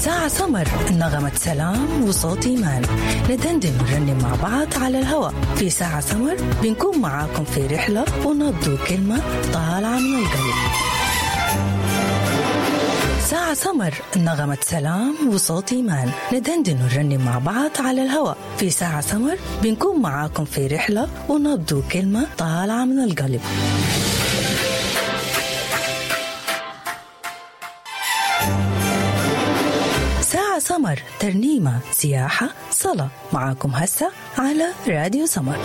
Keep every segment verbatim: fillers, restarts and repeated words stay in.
ساعة سمر، نغمة سلام وصوت إيمان، ندندن ونرنم مع بعض على الهواء في ساعة سمر. بنكون معاكم في رحلة ونبض كلمة طالعة من القلب. ساعة سمر، نغمة سلام وصوت إيمان، ندندن ونرنم مع بعض على الهواء في ساعة سمر. بنكون معاكم في رحلة ونبض كلمة طالعة من القلب. ساعة سمر، ترنيمة، سياحة، صلاة، معاكم هسه على راديو سمر.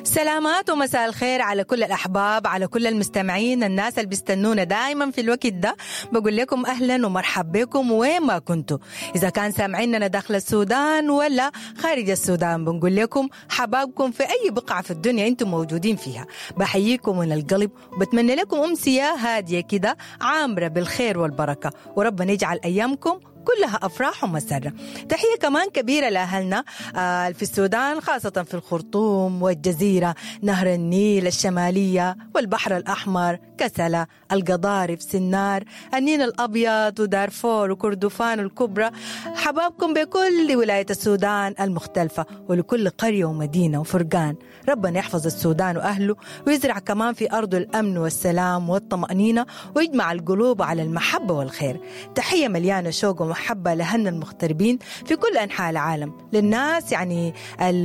سلامات ومساء الخير على كل الأحباب، على كل المستمعين، الناس اللي بيستنونا دائما في الوقت ده. بقول لكم أهلا ومرحب بكم وين ما كنتوا، إذا كان سامعيننا داخل السودان ولا خارج السودان، بنقول لكم حبابكم في أي بقعة في الدنيا أنتم موجودين فيها. بحييكم من القلب وبتمنى لكم أمسية هادية كده عامرة بالخير والبركة، وربنا يجعل أيامكم كلها أفراح ومسرة. تحية كمان كبيرة لأهلنا في السودان، خاصة في الخرطوم والجزيرة، نهر النيل الشمالية والبحر الأحمر، كسلة، القضارف، سنار، النيل الأبيض ودارفور وكردفان الكبرى. حبابكم بكل ولاية السودان المختلفة ولكل قرية ومدينة وفرقان. ربنا يحفظ السودان وأهله ويزرع كمان في أرضه الأمن والسلام والطمأنينة ويجمع القلوب على المحبة والخير. تحية مليانة شوق ومحبة لأهلنا المغتربين في كل أنحاء العالم، للناس يعني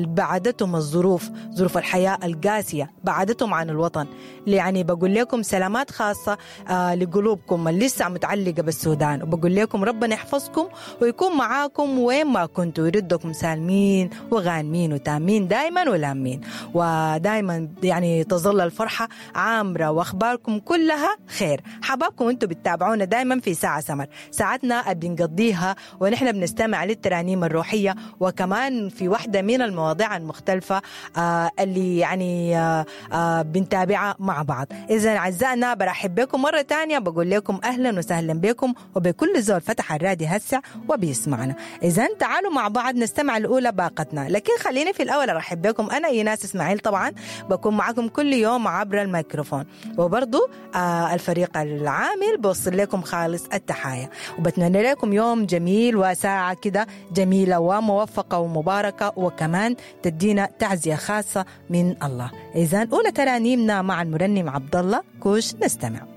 بعدتهم الظروف، ظروف الحياة القاسية بعدتهم عن الوطن. يعني بقول لكم سلامات خاصة آه لقلوبكم اللي لسه متعلقة بالسودان، وبقول لكم ربنا يحفظكم ويكون معاكم وين ما كنتوا، ويردكم سالمين وغانمين وتامين دايما ولامين، ودايما يعني تظل الفرحة عامرة وأخباركم كلها خير. حبابكم انتوا بتتابعونا دايما في ساعة سمر، ساعتنا بنقضيها ونحن بنستمع للترانيم الروحية، وكمان في واحدة من المواضيع المختلفة آه اللي يعني آه آه بنتابعها مع بعض. إذا أعزائنا برحب بكم مرة تانية، بقول لكم أهلا وسهلا بكم وبكل زول فتح الراديو هسه وبيسمعنا. إذا تعالوا مع بعض نستمع الأولى باقتنا، لكن خليني في الأول أرحب بكم. أنا إيناس إسماعيل، طبعا بكون معكم كل يوم عبر الميكروفون، وبرضو آه الفريق العامل بوصل لكم خالص التحايا، وبتمنى لكم يوم جميل وساعة كده جميلة وموفقة ومباركة، وكمان تدينا تعزية خاصة من الله. إذن أولى ترانيمنا مع المرنم عبد الله كوش، نستمع.